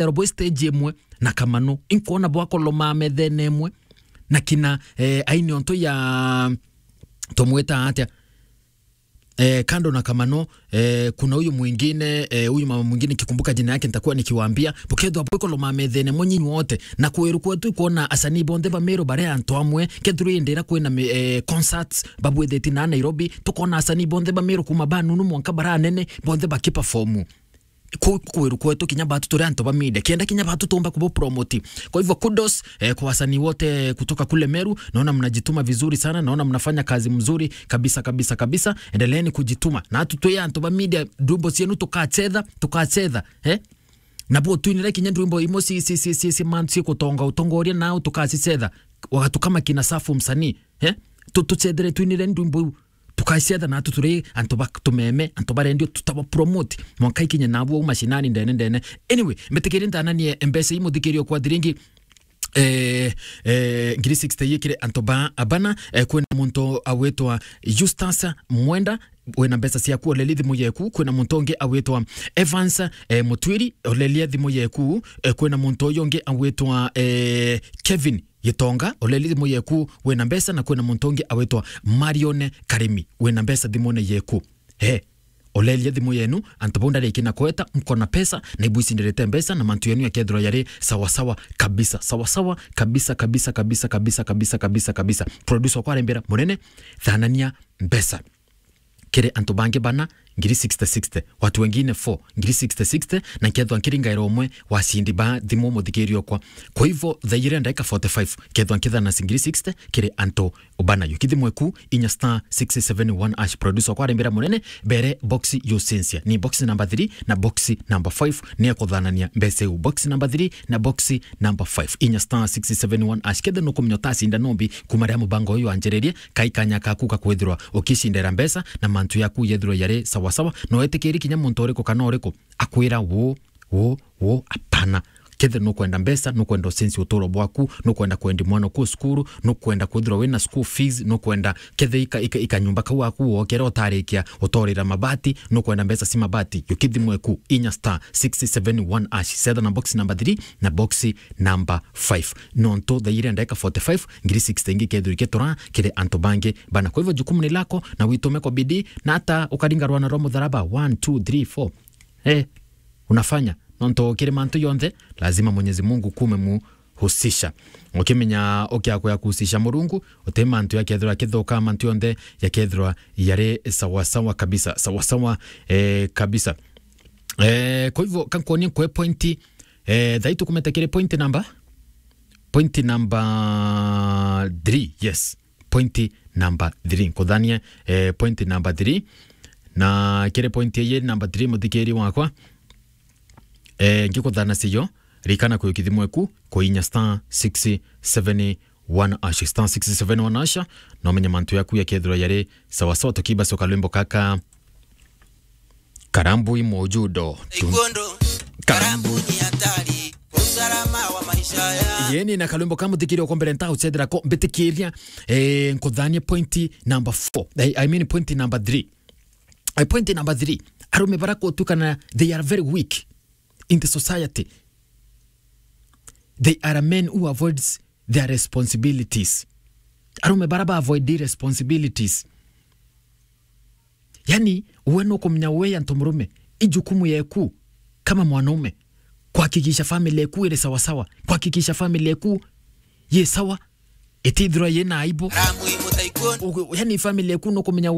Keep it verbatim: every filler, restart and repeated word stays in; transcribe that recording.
Nderwa bwi stage imwe na Kamano. Inkwona bwakoloma methene imwe na kina, eh, aini onto ya, tumwita atia? Eh, kando na Kamano, eh, kuna huyu mwingine, eh, huyu mama mwingine, nikikumbuka jina yake nitakuwa nikiwaambia. Bukethwa bwikoloma methene imwe nyinyi wote, na kwiru kwetu ikwona asanii bonthe ba Meru bare antu amwe, kethirwa indira kwina mi-, eh, concerts babwithiti na Nairobi, tukona asanii bonthe ba Meru kuma ba nunu mwanka bara anene, bonthe bakiperform. Ku-, kwiru kwetu kinya batu turi antu ba media, kenda kinya batu tumba kubu promote. Kwa hivyo kudos, eh, kwa wasanii wote kutoka kule Meru, naona mnajituma vizuri sana, naona mnafanya kazi mzuri kabisa, kabisa, kabisa. Endeleeni kujituma. Na atu twi antu ba media, ndwimbo cienu tukacetha, tukacetha, eh? Na bo twinire kinya ndwimbo imwe ci, ci, ci, ci, ci, man, ci kutonga utongoria nao tukacicetha. Wagatu kama kina Safu msanii, eh? Tu-, tucethere twinire ndwimbo iu. Tukacietha na atu turi antu ba tumeme, antu ba rendio tutaba promote. Mwanka ikinye nabu au mashinani ndene ndene. Anyway, mbitikiri ntananie mbeca ii muthikiri okwa thiringi, eh, eh, ngiri sixty ii kiri antu ba abana, eh, kwina muntu awitwa Justus Mwenda, wina mbeca ciaku, oleli thimu yeku. Kwina muntu ungi awitwa Evans, eh, Mutwiri, olelia thimu yeku. Eh, kwina muntu uyu ungi awitwa, eh, Kevin Gitonga, oleli thimu yeku, wina mbeca. Na kwina muntu ungi awitwa Marion Karimi, wina mbeca thimune yeku. He, olelia thimu yenu, antu bau ndariki na kweta, mkona pesa, na ibu icindirite mbeca, na mantu yenu yakethirwa yari sawa sawa kabisa, sawa sawa kabisa, kabisa, kabisa, kabisa, kabisa, kabisa, kabisa. Producer okwa arembera, munene, thanania mbeca kiri antu bangi bana, ngiri sixty sixty, watu wengine four, ngiri sixty sixty, na nkethwa nkiringaira umwe wa cindi ba thimu muthikiri okwa. Kwa hivyo, thaa ijiri ndagika forty-five, kethwa nkithana ngiri sixty kiri antu bana. Yuki thimu eku, inya star six seven one hash. Producer okwa arembera munene, bere box yucensia. Ni box number three na box number five, ni akuthanania mbeca iu. Box number three na box number five. Inya star six seven one hash. Kethe nukumenya utacinda nombi kuma riria mubango uyu wanjiririe, kai kanya kaku ka kwithirwa ukicindira mbeca na mantu yaku yethirwa yari sawa sawa. No etikiri kinya muntu uriku kana uriku akwira uu, uu, uu, apana. Kethe nukwenda mbeca, nukwenda ucenjie uturo bwaku, nukwenda kwendi mwana ku cukuru, nukwenda kwithirwa wina school fees, nukwenda kethe ika, ika, ikanyumba kau gaku wokera utarikia utorira mabati, nukwenda mbeca ci mabati, yuki thimu eku, inya star six seven one hash, cetha na box number three na box number five. Nontu thaa ijiri ndagika forty-five, ngiri sixty ingi kethirwa ikitura kiri antu bangi bana. Kwa hivyo, jukumu ni lako, na witume kwa bidii, na hata ukaringa rwana rwa mutharaba, one, two, three, four. Eh, unafanya. Nontu kiri mantu yonthe, lazima Mwenyezi Mungu kume muhusisha. Ukimenya ukiakwea kuhusisha Murungu, uti mantu yakethirwa akithuka, mantu yonthe yakethirwa yari sawa sawa kabisa, sawa sawa, eh, kabisa. Eh, kwa hivyo, kankonie nkwe pointi, eh, thai tukumete kiri pointi number, pointi number three, yes. Pointi number three. Nkuthanie, eh, pointi number three. Na kiri pointi iyi number three, muthikiri wakwa, eh, ngikuthana cio, rikana kuyuki thimu eku, kuinya star six seven one hash, star six seven one hash, na umenye mantu yaku yakethirwa yari sawa sawa. Tukibacoka lwimbo kaka, Karambui Mojudo. Tu- Iguondo, Karambu. Karambu ni hatari, usalama wa maisha ya. Yeni na kalwimbo ka muthikiri uko mbere nta uchethera ko mbitikiria, eh, nkuthanie pointi number four. I, I mean pointi number three. Eh, pointi number three. Arume bara kutukana, they are very weak in the society. They are men who avoids their responsibilities. Arume bara ba avoid responsibilities. Yani, we nukumenya we antu murume, i jukumu yeku kama mwanaume kuhakikisha family yeku iri sawa sawa, kuhakikisha family yeku ye sawa, itithirwa yina aibu. Ramu imutaikun. Ugu-, yani, family yeku nukumenya